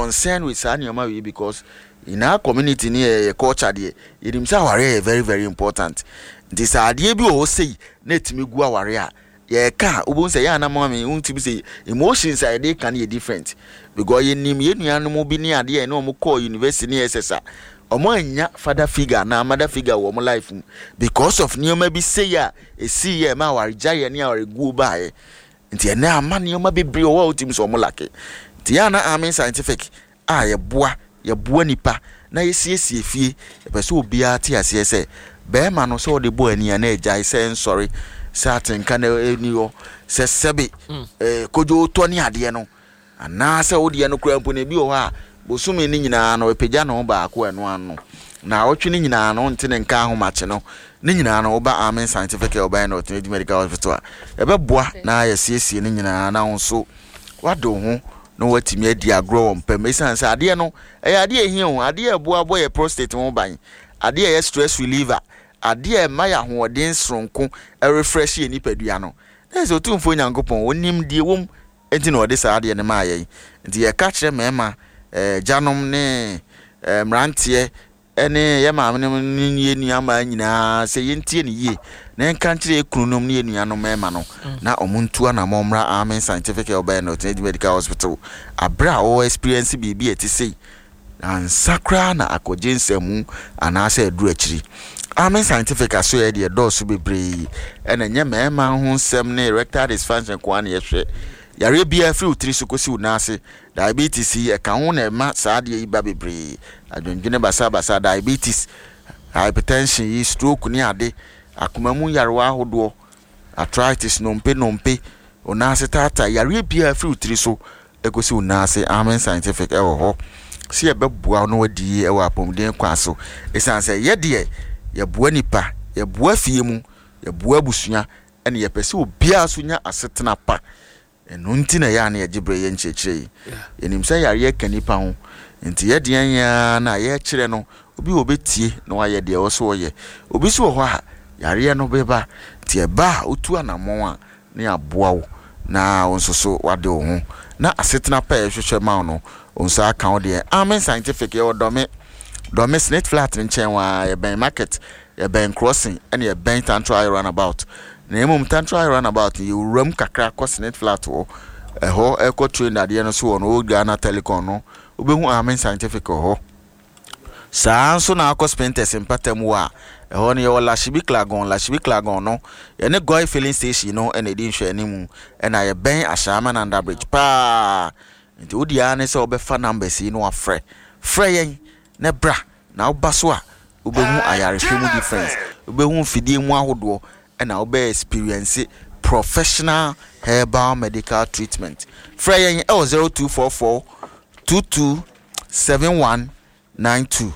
concerned with saa nneɛma wei because in our community ne yɛ culture deɛ, yɛnim sɛ awareɛ yɛ very very important. Nti sɛ adeɛ bi wɔ hɔ sei na ɛtumi gu awareɛ a, yɛka a, wobɛhu sɛ yɛ ana ma me wontumi sɛ emotions a yɛde ka no yɛ different because yɛnim yɛn nuanom bi ne adeɛ a ɛne wɔn kɔɔ university ne SS a, wɔn anya father figure anaa mother figure wɔ wɔn life mu because of nneɛma bi sei a ɛsii yɛ ɛma awaregyaeɛ ne awareguo baeɛ. Nti ɛnɛ ama nneɛma bebree wɔ hɔ a wotumi sɛ wɔn lack. Nti yɛn ana Amen Scientific a yɛboa yɛboa nipa na yɛsiesie fie, yɛpɛ sɛ obiara te aseɛ sɛ bɛrima no sɛ ɔde bɔ ani a na agyae, sɛ nsɔre, sɛ atenka na ɛni hɔ, sɛ sɛbe kodwo tɔ ne adeɛ no, anaasɛ wodeɛ no koraa mpo no, ebi wɔ hɔ a bosome no nyinaa no ɛpagya ne ho baako ɛno ano na awɔtwe no nyinaa no nte ne nka ahomakye no ne nyinaa no, woba Amen Scientific Herbal and Alternative Medical Hospital a, ɛbɛboa na yɛsiesie no nyinaa na wo nso wade wo ho na watumi adi agorɔ wɔ mpam. Ɛsiane sɛ adeɛ no ɛyɛ adeɛ ɛhia o, adeɛ a ɛboa bɔ yɛ prostate ho ban, adeɛ a ɛyɛ stress reliever, adeɛ a ɛma yɛ ahoɔden soronko, ɛrefresh yɛ nipadua no, na ɛsɛ Otumfoɔ Nyankopɔn onim deɛ wɔm nti na ɔde saa adeɛ no maa yɛn. Nti yɛka kyerɛ mmarima, agyanom ne mmeranteɛ ne yɛn maamenom ne yɛn nuammaa nyinaa sɛ yɛntie no yie na yɛnka nkyerɛ yɛn kununom ne yɛn nuanom mmarima no na wɔn ntu anammɔn mmra Amen Scientific Herbal and Alternative Medical Hospital aberɛ a wɔwɔ experience biribi a ɛte sei ansa koraa na akɔgye nsɛmmu anaasɛ aduru akyiri. Amen Scientific asoɛeɛ deɛ ɛdɔɔso bebree, ɛna ɛnyɛ mmarima ho nsɛm ne erectile dysfunction nko ara na yɛhwɛ. Yareɛ biara firi wo tiri so kɔsi wo nan ase, diabetes yi ɛka ho na ɛma saa adeɛ yi ba bebree, adwendwene basabasa, diabetes, hypertension yi, stroke ne ade, akoma mu nyarewa ahodoɔ, arthritis, nnompe nnompe, wo nan ase taataa, yareɛ biara firi wo tiri so kɔsi wo nan ase. Amen Scientific wɔ hɔ sɛ yɛbɛboa wo na woadi yie wɔ apɔmuden kwan so. Ɛsiane sɛ yɛ deɛ yɛboa nipa, yɛboa fie mu, yɛboa abusua, ɛna yɛpɛ sɛ obiara nso nya asetena pa. Ɛno nti na ɛyɛ a na yɛgye berɛ yɛ nkyerɛkyerɛ yi. Yɛnim sɛ yareɛ ka nnipa ho, nti yɛ deɛ yɛn ara na yɛkyerɛ no, obi wɔ ɔbɛtie na wayɛ deɛ ɛwɔ sɛ ɔyɛ. Obi nso wɔ hɔ a, yareɛ no bɛba, nti ɛba a wotu anammɔn a, na yɛaboa wo na wo nso so woade wo ho na asetena pa a yɛhwehwɛ ma wo no, wo nsa aka wo deɛ. Amen Scientific, yɛwɔ Dɔme, Dɔme Snit Flat no nkyɛn hɔ ara, yɛbɛn market, yɛbɛn crossing, ɛna yɛbɛn Tantra High Runabout. Na mmom Tantra High Runabout no, yɛwura mu kakra kɔ Snit Flat hɔ, ɛhɔ ɛkɔ train dadeɛ no so wɔ no, Old Ghana Telecom no, wobɛhu Amen Scientific wɔ hɔ. Saa ara nso na akɔ Spintex mpata mu a, ɛhɔ no yɛwɔ Lashibi Klagon. Lashibi Klagon no, yɛne Goil Filling Station no na ɛdi nhwɛanimu, ɛna yɛbɛn Ashaiman Under Bridge paa. Nti wo deɛ ara ne sɛ wobɛfa numbers yi na wafrɛ. Frɛ yɛn na bra, na woba so a, wobɛhu ayarehwɛ mu difference, wobɛhu mfidie mu ahodoɔ, ɛna wobɛ experience professional herbal medical treatment. Frɛ yɛn ɛwɔ 0244 22 7192.